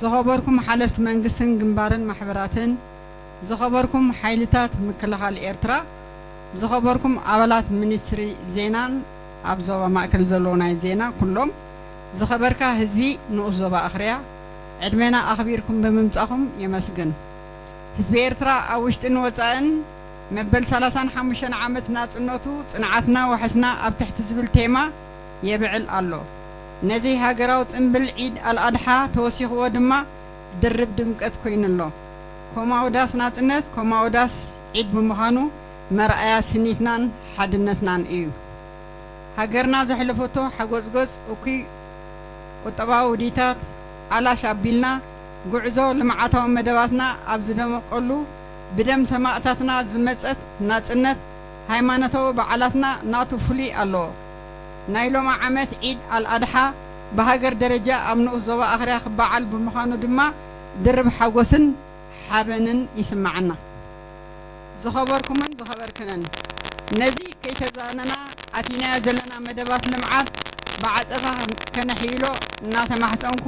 ዝኸበርኩም ሓለፍቲ መንግስትን ግንባርን ማሕበራትን፣ ዝኸበርኩም ሓይልታት ምክልኻል ኤርትራ፣ ዝኸበርኩም ኣባላት ሚኒስትሪ ዜናን ኣብ ዞባ ማእከል ዘለዉ ናይ ዜና ኩሎም፣ ዝኸበርካ ህዝቢ ንኡስ ዞባ ኣኽርያ፣ ዕድሜና ኣኽቢርኩም ብምምጻኹም የመስግን። ህዝቢ ኤርትራ ኣብ ውሽጥን ወጻእን መበል ሰላሳን ሓሙሽተን ዓመት ናጽነቱ ጽንዓትና ዋሕስና ኣብ ትሕቲ ዝብል ቴማ የብዕል ኣሎ። ነዚ ሃገራዊ ጽምብል ዒድ ኣልኣድሓ ተወሲኽዎ ድማ ድርብ ድምቀት ኮይኑ ኣሎ። ኮማውዳስ ናጽነት ኮማውዳስ ዒድ ብምዃኑ መርኣያ ስኒትናን ሓድነትናን እዩ። ሃገርና ዘሕለፈቶ ሓጎጽጎጽ እኩይ ቁጠባዊ ውዲታት ኣላሽ ኣቢልና፣ ጉዕዞ ልምዓታዊ መደባትና ኣብ ዝደመቀሉ፣ ብደም ሰማእታትና ዝመጸት ናጽነት፣ ሃይማኖታዊ በዓላትና ናቱ ፍሉይ ኣለዎ። ናይ ሎሚ ዓመት ዒድ ኣልኣድሓ ብሃገር ደረጃ ኣብ ንኡስ ዞባ ኣኽርያ ክበዓል ብምዃኑ ድማ ድርብ ሓጎስን ሓበንን ይስምዓና። ዝኸበርኩምን ዝኸበርክንን፣ ነዚ ከይተዛነና ኣቲናዮ ዘለና መደባት ልምዓት ብዓጸፋ ከነሕይሎ እናተማሕጸንኩ፣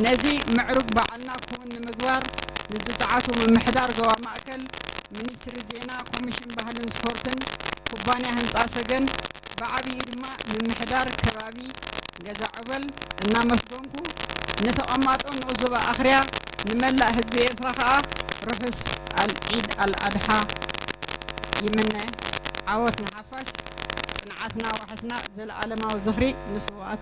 ነዚ ምዕሩግ በዓልና ክውን ንምግባር ንዝጸዓቱ ምምሕዳር ዞባ ማእከል፣ ሚኒስትሪ ዜና፣ ኮሚሽን ባህልን ስፖርትን፣ ኩባንያ ህንጻ ሰገን፣ ብዓቢኡ ድማ ምምሕዳር ከባቢ ገዛ ዑበል እናመስገንኩ፣ ንተቐማጦ ንኡስ ዞባ ኣኽርያ፣ ንመላእ ህዝቢ ኤርትራ ከኣ ርሑስ ኣል-፣ ዒድ ኣልኣድሓ ይምነ። ዓወት ንሓፋሽ፣ ጽንዓትና ዋሕስና፣ ዘለኣለማዊ ዝኽሪ ንስውኣት